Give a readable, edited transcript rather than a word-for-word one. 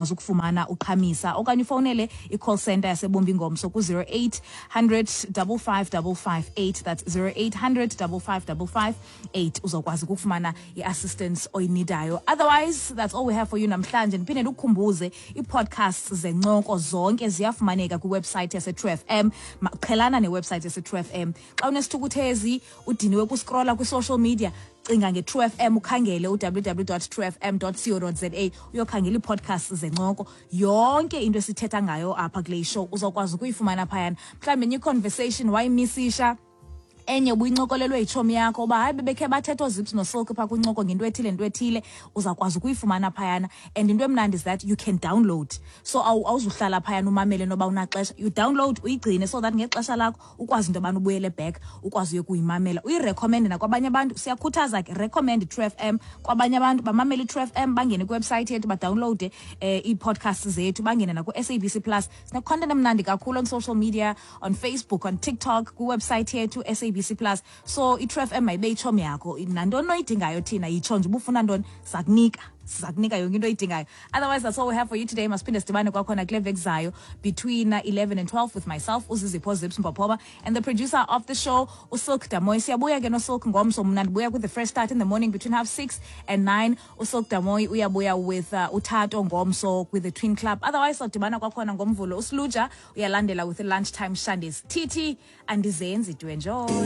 Ukufumana uqhamisa okanye ufowunele i-call center yaseBombi ngomso ku-0800 55558, that's 0800 55558. Uzokwazi ukufumana i-assistance oyinidayo. Otherwise, that's all we have for you namhlanje. Ndiphinde ndikukhumbuze, ii-podcasts zencoko zonke ziyafumaneka kwiwebsite yaseTrue FM. Qhelana newebsite yaseTrue FM. Xa unesithukuthezi, udiniwe kuscrolla kwi-social media, cinga nge-True FM, ukhangele uwww.truefm.co.za, uyokhangela ii-podcasts zencoko. Yonke into esithetha ngayo apha kule show uzawukwazi ukuyifumana phayana. Mhlawumbi enye i-conversation wayimisisha, enye ubuyincokolelwe yitshomi yakho uba hayi, bebekhe bathetha ooZips noSilk phaa kwincoko ngento ethile, nto ethile, uzawukwazi ukuyifumana phayana. And into emnandi is that you can download, so awuzuhlala phayana umamele noba unaxesha. You download, uyigcine so that ngexesha lakho ukwazi into yobana ubuyele back, ukwazi uye kuyimamela, uyirecommende nakwabanye abantu. Siyakhuthaza ke, recommend True FM kwabanye abantu, bamamele iTrue FM, bangene kwiwebsite yethu, badownloade ii-podcasts zethu, bangene naku-SABC Plus. Sine-content emnandi kakhulu on social media, on Facebook, on TikTok, kwiwebsite yethu SABC Plus. So iTrue FM mayibe itshomi yakho. Nantoni oyidingayo thina, yitsho nje ubufuna ntoni, sakunika, siza kunika yonke into oyidingayo. Otherwise, that's all we have for you today. Masiphinde sidibane kwakhona kule veki zayo between 11 and 12 with myself, uZizipho Zips Mpopoma, and the producer of the show, uSilk Damoy. Siyabuya ke noSilk ngomso. Mna ndibuya with the Fresh Start in the morning between 6:30 and 9. USilk Damoy uyabuya with uThato ngomso with the Twin Club. Otherwise, sawudibana kwakhona ngoMvulo. USluja uyalandela with the Lunchtime Shandies. TT andizenzi, do enjoy.